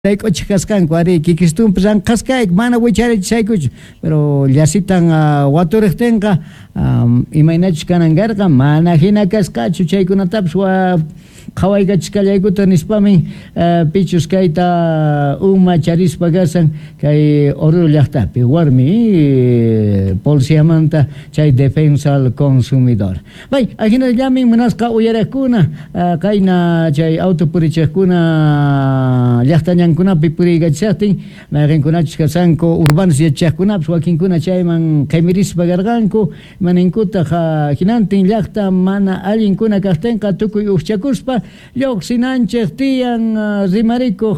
Sayk'uchej kasqanku, arí, kikistunpi ranqhasqayku, mana wicharichisaykuchu, pero llasitan waturejtenqa imaynachus kanan karqa, mana jina kasqachu, chaykunatapis qhawaykachisqallaykuta nispamin pichus kayta uma charispa kashan kay Oruro llajtapi warmi policiamanta chay defensa al consumidor. Pay, ajinallamin munasqa uyarejkuna, qayna chay auto purichejkuna llajta ñankunapi puriykachishajtin, mayqenkunachus kashanku urbanos yachachajkunapis wakinkuna chayman qhemirispa karqanku, ima ninkutaj jinantin llajta mana allinkuna kajtenqa tukuy ujchakuspa llojsinanchej tiyan rimarikoj.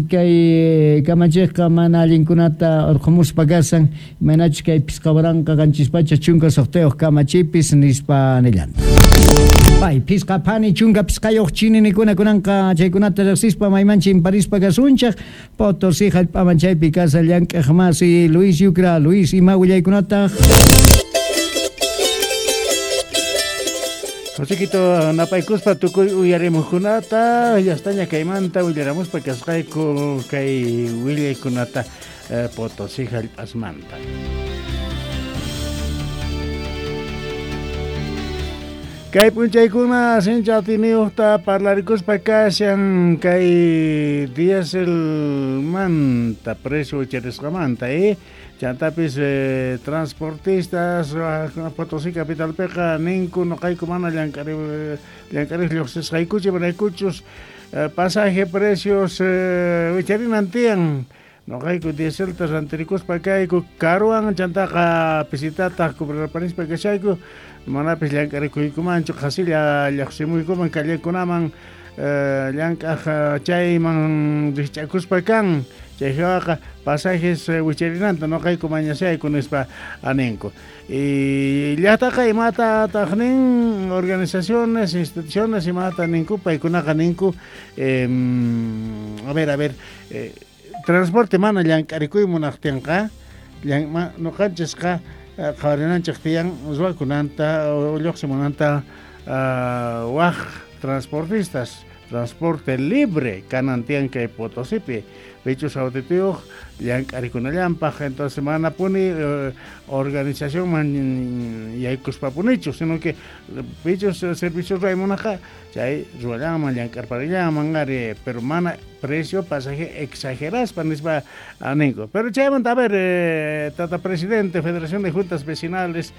Kay kamachejqa mana allinkunata orqhomuspa kashan, imaynachus kay 5716 kamachipis, nispa nillanta. Pay, phisqa phani 15 chininikuna kunanqa chaykunata rejsispa mayman chimparispa kasunchej, Potosí jallp'aman chaypi kashan llank'aj masi Luis Yucra. Luis, ima willaykunataj? Josequito, napaykuspa tukuy uyarimuqkunata, llastaña kaymanta willaramuspa kasqayku kay willaykunata Potosí jallp'asmanta. Kay p'unchaykuna sinchi atiyniyuqta parlarikuspa kashan kay dieselmanta precio wicharisqamanta, Chantapis transportistas Potosí capitalpiqa ninku noqayku mana llank'arej llojsisqaykuchu, imaraykuchus pasaje precios wicharinan tiyan. Noqayku dieselta rantirikuspa kayku karuwan, chantaqa pisitataj cobrarpanispa kashayku, manapis llank'arikuykumanchu, qhasilla llojsimuykuman callekunaman llank'aj chayman rijch'akuspa kan. Chay jawaqa pasajes wicharinanta noqayku mañashayku nispa ninku. Y llajtaqa imatataq nin organizaciones, instituciones imata ninku, paykunaqa ninku, a ver, a ver, transporte mana llank'arikuy munaqtinqa, noqanchisqa qhawarinanchej tiyan ruwakunanta llojsimunanta waj transportistas, transporte libre kanan tiyan kay Potosipi, pichus autitiyuq llank'arikunallanpaj, entonces mana puni organizacionman yaykuspapunichu, sino que pichus servicio ruway munajqa chay ruwallanman llank'arparillanman ari, pero mana precio pasaje exageraspa nispa ninku. Pero chaymanta, a ver, tata presidente Federación de Juntas Vecinales,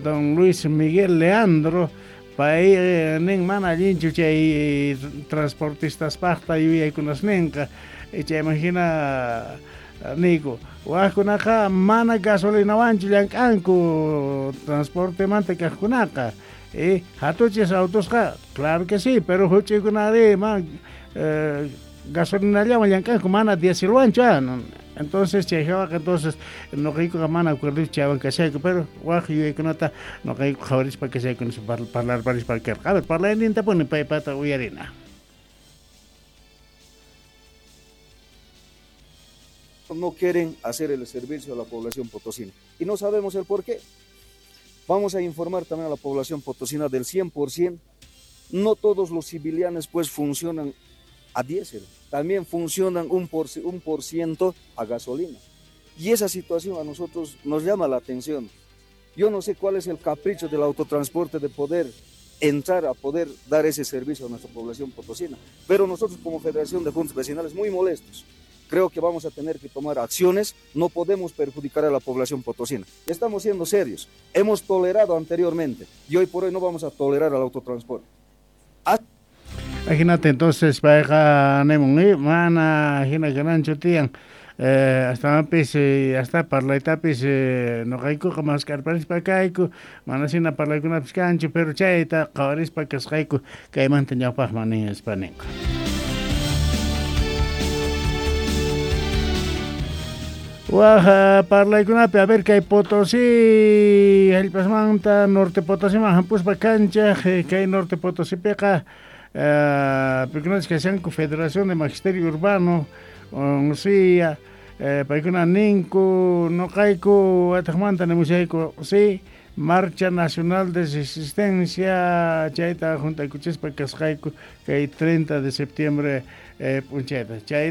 don Luis Miguel Leandro, pay nin mana allinchu chay transportistaspajta yuyaykunas ninqa, chayman hina niyku, wajkunaqa mana gasolinawanchu llank'anku transportemanta kajkunaqa, hatuchis autosqa, claro que sí, pero huch'uykunari man gasolinallawan llank'anku, mana dieselwanchu, entonces chay jawaqa, entonces noqaykuqa mana acuerdochu chaywan kashayku, pero waj yuyaykunata noqayku qhawarispa kashayku nispa parlarparispa karqa. A ver, parlayninta puni paypata uyarina. No quieren hacer el servicio a la población potosina y no sabemos el por qué. Vamos a informar también a la población potosina del 100%. No todos los civilianes pues funcionan a diésel, también funcionan un por ciento a gasolina. Y esa situación a nosotros nos llama la atención. Yo no sé cuál es el capricho del autotransporte de poder entrar a poder dar ese servicio a nuestra población potosina, pero nosotros como Federación de Juntas Vecinales muy molestos. Creo que vamos a tener que tomar acciones, no podemos perjudicar a la población potosina. Estamos siendo serios, hemos tolerado anteriormente y hoy por hoy no vamos a tolerar al autotransporte. Ajinata entonces payqa nimun, mana jina kananchu tiyan, astawanpis hasta parlaytapis noqaykuqa mask'arparispa kayku, mana shina parlaykunapis kanchu, pero chayta qhawarispa kasqayku kaymanta ñawpaqman nispa ninku. Waj parlaykunapi, a ver, kay Potosí jallp'asmanta Norte Potosíman hampuspa kanchaj, kay Norte Potosípiqa paykunachus kashanku Federación de Magisterio Urbano, UNSIA, paykuna ninku noqayku wataqmanta nimushayku, sí, Marcha Nacional de Resistencia chayta juntaykuchispa kasqayku kay 30 de septiembre p'unchayta. Chay